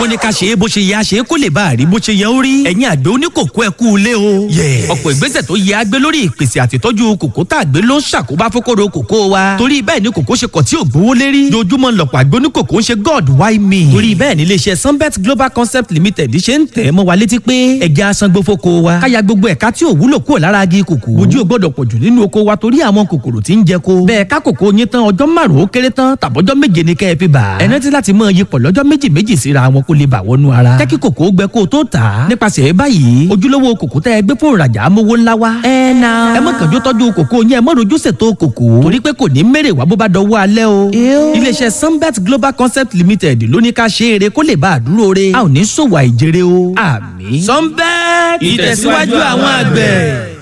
Wọ́n ní ká ṣe é bó ṣe yẹ, a ṣe é kó lè bá a rí bó ṣe yẹ ó rí. Ẹ̀yin àgbẹ̀ oníkòkó, ẹ kú ilé o. Ọ̀pọ̀ ìgbésẹ̀ tó yẹ á gbé lórí ìpèsè àtìtọ́jú kòkó tá a gbé ló ń ṣàkóbá fókòrò kòkó wa. Torí bẹ́ẹ̀ ni kòkó ṣe kọ̀ tí ò gbówó lérí. Dojúmọ́ lọ̀pọ̀ àgbẹ̀ oníkòkó ń ṣe "God, why me?" Torí bẹ́ẹ̀ ni iléeṣẹ́ Sunbet Global Concept Limited ṣe ń tẹ̀ mọ́ wa létí pé ẹ̀jẹ̀ asangbó fóko wa. Káya gbogbo ẹ̀ka tí ò wúlò kúrò lára agi kòkó. Ojú ò gbọ́dọ̀ pọ̀jù nínú oko wa torí àwọn kòkòrò tí ń jẹ ko. Bẹ́ẹ̀ ká kòkó yín tán, ọjọ́ 5 ó kéré tán tàbọ́jọ́ 7 ni kẹ́ ẹ fi bà. Ẹni tí láti mọ iyipọ̀ lọ́jọ́ méjì méjì síra wọn kó lè bà wọnú ara. Jẹ́ kí kòkó gbẹ kó o tó tà á. Nípasẹ̀ báyìí, ojúlówó kòkó tẹ́ ẹ gbé fóònù rajà amówó ńlá wá. Ẹ na. Ẹ mọ̀ kànjú tọ́jú kòkó yín, ẹ mọ̀ rojú ṣètò kòkó. Torí pé kò ní mèrè wá bó bá dọwọ́ alẹ́ o. Iléeṣẹ́ Sunbet Global Concept Limited ló ní ká ṣe eré kó lè bá a dúró re. A ò ní ṣòwò àìjèrè o. Àmín. Sunbet, ìtẹ̀síwájú àwọn àgbẹ̀.